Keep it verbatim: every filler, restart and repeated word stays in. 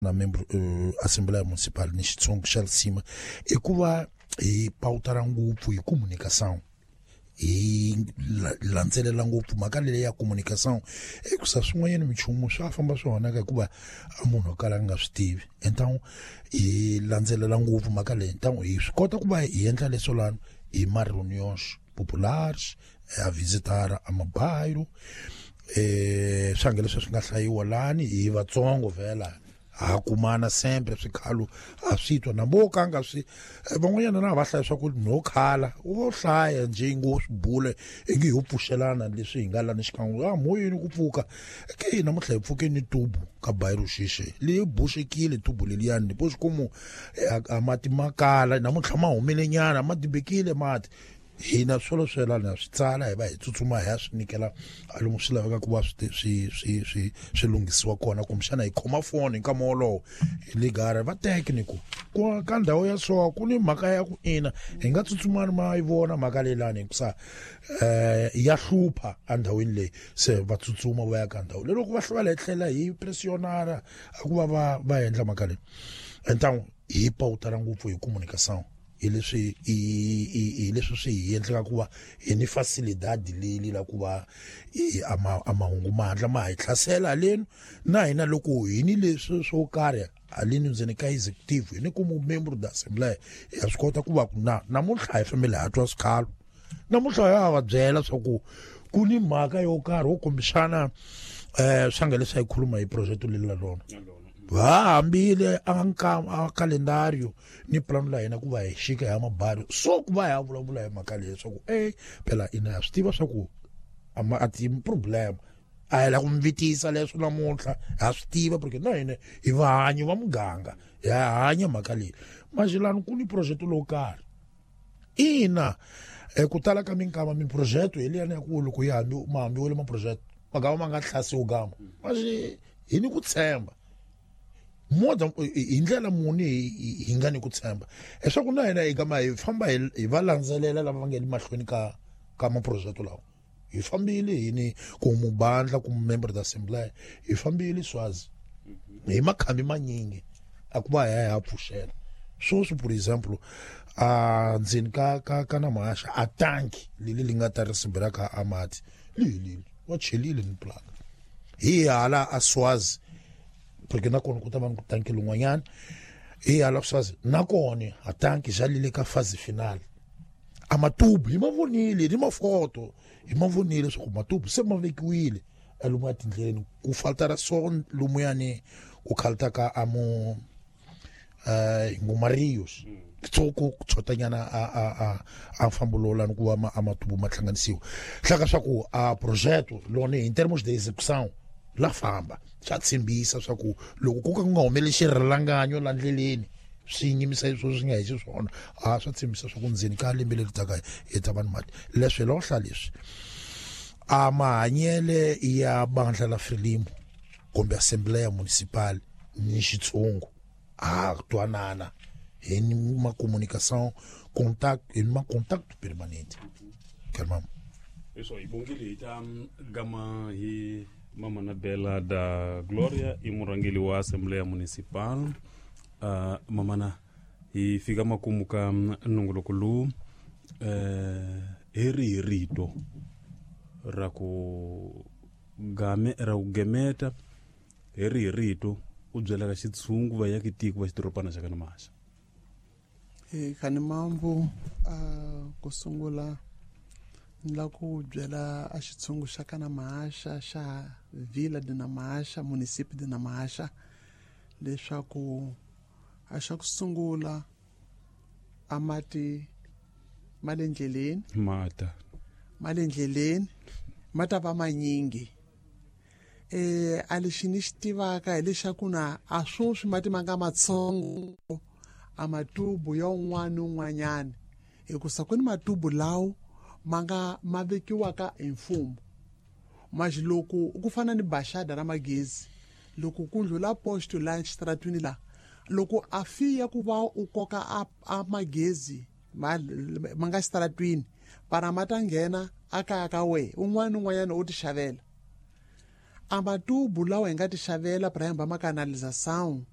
na membro uh, Assembleia Municipal ni Xitsonga xa Lisima i ku va hi pawutara ngopfu hi communication, hi landzelela ngopfu mhaka leyi ya communication, hikusa swin'wanyana minchumu swa famba swi onhaka hikuva a munhu o kala a nga swi tivi. Então hi landzelela ngopfu mhaka leyi, então hi swi kota ku va hi endla leswo lani hi ma reuniões populares, a visitar a mabairro, eh swange leswi swi nga hlayiwa lani hi vatsongo vhela ha kumana sempre swikhalo a swi twa na vo ka nga swi van'wanyana na va hlaya swa ku no khala wo hlaya nje ngo swi bule ingi ho pfuxelana leswi hi nga lani xikan'we a moyeni ku pfuka ke namuntlha hi pfuke ni tubu ka bairro xixe leyi boxekile tubu leliyani depois como a mati ma kala namuntlha ma humile nyana ma dibekile mati hina swolo swelana swi tsala hi va hi tsutsuma hi ya swi nyikela a lomu swi laveka ku va swi swi swi swi swi lunghisiwa kona, kumbexana hi khoma foni nkama wolowo hi ligara va tekniku ku ka ndhawu ya so ku ni mhaka ya ku ina hi nga tsutsumani ma yi vona mhaka leyi lani hikusa um ya hlupha endhawini leyi, se va tsutsuma va ya ka ndhawu leyi loko va hlwela hi tlhela hi pressionara a ku va va va endla mhaka leyi. Então hi pawutara ngopfu hi communication hi leswi hi leswi swi hi endlaka ku va hi ni facilidade leyi la ku va a ma a mahungu ma hatla ma hi hlasela haleni na hina loko hi ni leswi swo karhi haleni ndzeni ka executive hi ni ku membro da assembly ya swi kota ku va ku na namuntlha hi fambile ha twa swikhalo namuntlha ya va byela swa ku ku ni mhaka yo karhi wo kombisana um swa leswi hi khuluma hi project leri la rona va hambile a nka a calendario ni plano la hina ku va hi xika ya mabari so ku va ya vulavula hi mhaka leyi swa ku eh phela ina ya swi tiva swa ku a ma a ti problem a hi la ku mvitisa leswo namuntlha ha swi tiva porque na hina hi vahanyi va muganga ya hanya mhaka leyi maxilani ku ni project lowu karhi ina ku tala ka minkama miprojeto hi liyani ya ku loko yi hambi ma hambiwile maprojeto magama ma nga hlasiwi gama maxi hi ni ku tshemba moda hi ndlela muni hi nga ni ku tshemba leswaku na hina hi gama hi famba hi va landzelela lava va nga le mahlweni ka ka maprojeto lawa hi fambile hi ni ku mubandla ku member da assembly hi fambile Swazi hi makhambi manyingi a ku va hi ya pfuxela sweswi por example a ndzeni ka ka ka na mahaxa a tanki leli li nga ta ri sibira ka amati li wa chelile ni plaka hi hala a Swazi porque na kona ku ta va ni ku tanki lin'wanyana hi hala Swazi na kona a tanki xa lile ka phase final a matubu hi ma vonile ni mafoto hi ma vonile swa ku matubu se ma vekiwile lomu etindleleni ku faltara so lumuyani ku khalta ka amu eh ngumarius tsoko tshotanyana a a a a mfambo lowu lani ku va ma amatubu ma hlanganisiwa hlaka swa ku a projeto lona in termos de execução la famba swa tshembisa swa ku loko ku ka ku nga humeli xirhalanganyo la ndleleni swi nyimisa leswi swi nga hi xiswona a swa tshembisa swa ku ndzeni ka lembe leri taka hi ta vanhu mati leswi hi lohla leswi a mahanyele ya bandla la Frelimo kumbe Assembleia Municipal ni xitshungu a twanana hi ni ma communication contact hi ma contact permanente kalmam eso hi bongile hi ta gama hi Mama Nabela da Gloria i murhangeri wa Assembleia Municipal. Uh, mamana hi fika makumu ka nongoloko lowu uh, hi rihi rito ra ku game ra ku gemeta hi rihi rito u byelaka xitshungu va yaki tiko va xidorobana xa ka Mahaxa? E khani mambu uh, ku sungula ni la ku byela a xitshungu xa ka Mahaxa xa Vila de Namahaxa municipio de Namahaxa leswaku a xa ku sungula a mati ma le ndleleni mata ma le ndleleni ma ta va manyingi eh a lexi ni xi tivaka hileswaku na a sweswi mati ma nga matsongo a matubu ya un'wana ni un'wanyana hikusa ku ni matubu lawo ma nga ma vekiwaka hi mfumo maxi loko ku fana ni baxada ra magezi loko ku ndlula posto la xitaratwini la loko a fiya ku va u koka a, a magezi ma, ma nga xitaratwini para ma ta nghena a kaya ka we un'wana ni un'wanyana u ti xavela a matubu lawa hi nga ti xavela para hamba ma canalização